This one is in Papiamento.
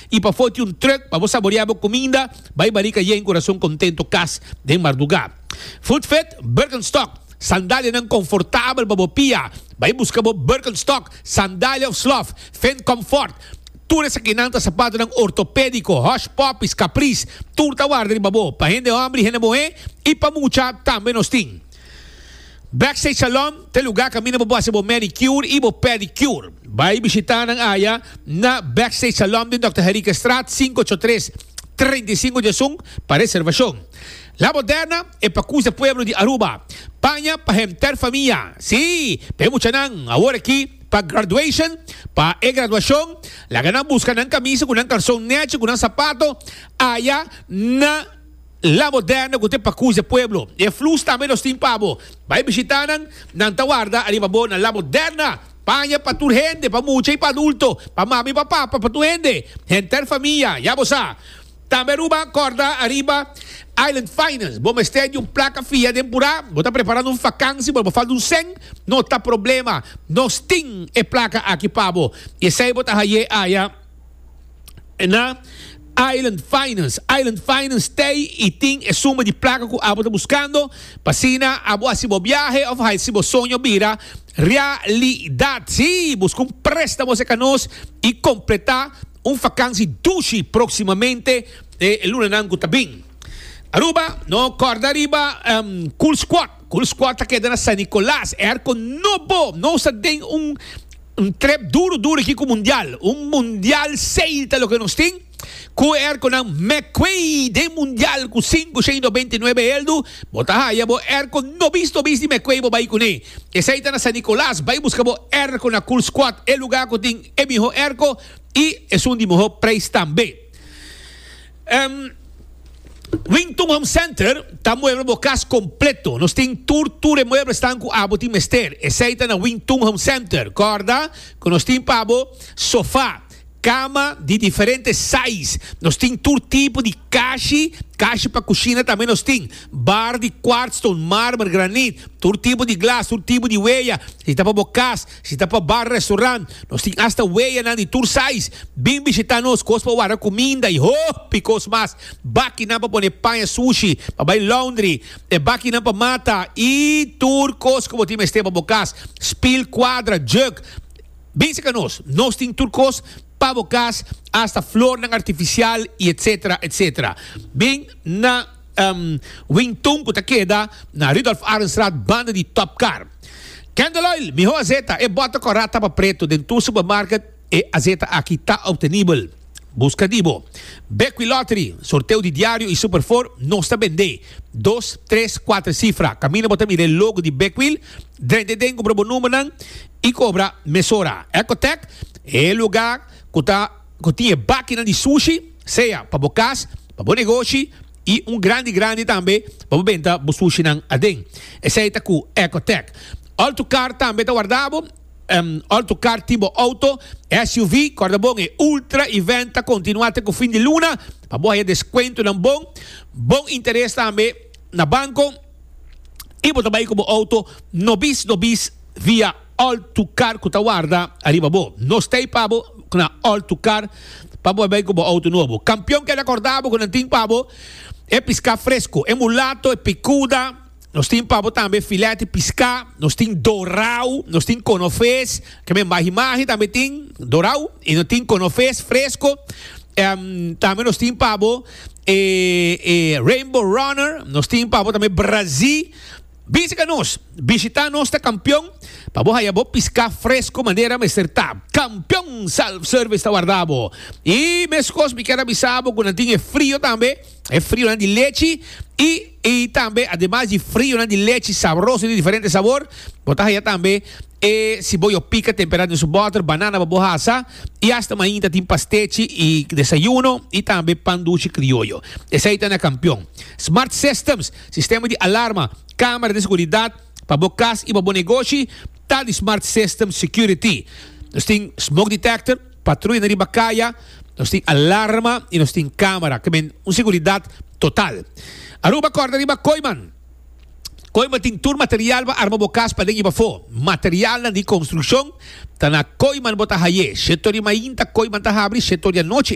I pafó tin un truck pa bo saboreá bo kuminda, bai barika yen kurason kontento kas den mardugá. Footfit, Birkenstock, sandalianan konfortabel pa bo pia, bai buska bo Birkenstock, sandalia òf slof, Finn Comfort, tur esakinan ta sapatonan ortopédiko, Hush Puppies, Caprice, tur ta warda riba bo, pa hende hòmber i hende muhé i pa mucha tambe nos tin. Backstage Salon ta e lugar caminda bo por haci bo manicure y bo pedicure. Bay bishita nan aya na Backstage Salon den Dòkter Henriquezstraat 583 35 diesun pa reservacion. La Moderna e pacus de pueblo di Aruba. Paña pa henter famia. Sí, pa e muchanan awor aki pa graduation, pa e graduacion, laga nan busca nan camisa cu nan calzon nechi cu nan sapato aya na. La Moderna cu ta e pacus e pueblo. E flus tambe nos tin pa bo. Bay bishita nan, nan ta warda ariba bo na La Moderna. Paña pa tur hende, pa mucha y pa adulto, pa mami y pa papa, pa tur hende, henter famia, ya bo sa. Tambe Aruba corda ariba Island Finance. Bo mester di un placa fia den pura, bo ta preparando un vakantie pero bo falta un cen, no ta problema. Nos tin e placa aki pa bo. Y esey bo ta haye aya. Na Island Finance. Island Finance tei y tin e suma di placa cu abo ta buscando pa asina abo haci bo biahe of haci bo soño bira realidad. Sí, busca un prestamo cerca nos y completa un vakantie dushi proximamente e lunanan cu ta bin. Aruba, no corda riba Cool Squad. Cool Squad ta keda na San Nicolas. Airco nobo. Nos ta den un. Un trep duro duro aki ku mundial. Un mundial sale ta loke nos tin. Ku e airconan McQuay den mundial ku 599 eldu, bo ta haya bo airco nobis nobis di McQuay bo bai kuné. Esei ta na San Nicolas, bai buska bo airco na Cool Squad, e lugar ku tin e miho airco i esun di miho prijs tambe. Wington Home Center ta mueble bo cas completo. Nos tin tur tur e mueblesnan cu abo tin mester. Esey ta na Wington Home Center. Corda cu nos tin pa bo sofa, cama di diferente size. Nos tin tur tipo di kashi, kashi pa cushina tambe nos tin. Bar di quartzstone, marmer, granit, tur tipo di glas, tur tipo di weya. Si ta pa bo cas, Si ta pa bar, restaurant, nos tin hasta weyanan di tur size. Bin bishita nos, kos pa warda kuminda i hopi kos mas. Bakinan pa pone paña sushi, pa bai laundry, e bakinan pa mata i tur kos ku bo tin mester pa bo kas. Spil, kuadra, jug. Bin seka nos, nos tin tur kos pa bo kas, hasta flornan artifisial i etsetera, etsetera. Bin na Wingtun ku ta keda na Rudolf Arendstraat banda di Top Car. Candle oil, mihó azeta, e bòter kòrá tapa pretu den tur supermarket e azeta aki ta optenibel. Buska di bo. Bequi Lottery, sorteo di diario i Super Four, nos ta bendé. Dos, tres, kuater sifra. Kaminda bo ta mira e logo di Bequil, drenta den kumpra bo numbernan i kobra mesora. Ecotech, e lugá ku ta ku tin e bakinan di sushi, sea pa bo kas, pa bo negoshi, I un grandi grandi tambe pa bo benta bo sushinan aden. Esei ta ku Ecotec. Autocar tambe ta warda bo. Autocar tin bo auto, SUV, korda bon e Ultra Event ta kontinua te ku fin di luna pa bo haya deskuentonan bon, bon interes tambe na banko i bo ta bai ku bo auto nobis nobis via. All to Car cu ta warda ariba bo. Nos ta ey pa bo na All to Car pa bo bay cu bo auto nobo. Campeon keda corda bo cu nan tin pa bo e pisca fresco, e mulato, e picuda, nos tin pa bo tambe filet di pisca, nos tin dorao, nos tin conofes, ke men mahi mahi tambe tin dorao y nos tin conofes fresco. Tambe nos tin pa bo e e Rainbow Runner, nos tin pa bo tambe Brazi. Bishita nos! Bishita nos ta Kampion pa bo haya bo piská fresko manera mester ta. Kampion Self Service ta warda bo. I meskos mi kier a bisa bo ku nan tin e frio tambe, e frionan di lechi i i tambe ademas di frionan di lechi sabroso di diferente sabor, bo ta haya tambe e siboyo pika tempera den su bòter, banana pa bo hasa i asta mainta tin pastechi i desayuno i tambe pan dushi krioyo. Esei ta na Kampion. Smart Systems. Sistema di alarma, camera di seguridad pa bo cas y pa bo negoshi ta di Smart System Security. Nos tin smoke detector, patruya na riba caya, nos tin alarma y nos tin camera. Ke men un seguridad total. Aruba corda riba Kooyman. Kooyman tin tur material pa arma bo kas paden i pafó. Materialnan di konstrukshon ta na Kooyman bo ta haye. Shetor di mainta Kooyman ta habri, shetor di anochi.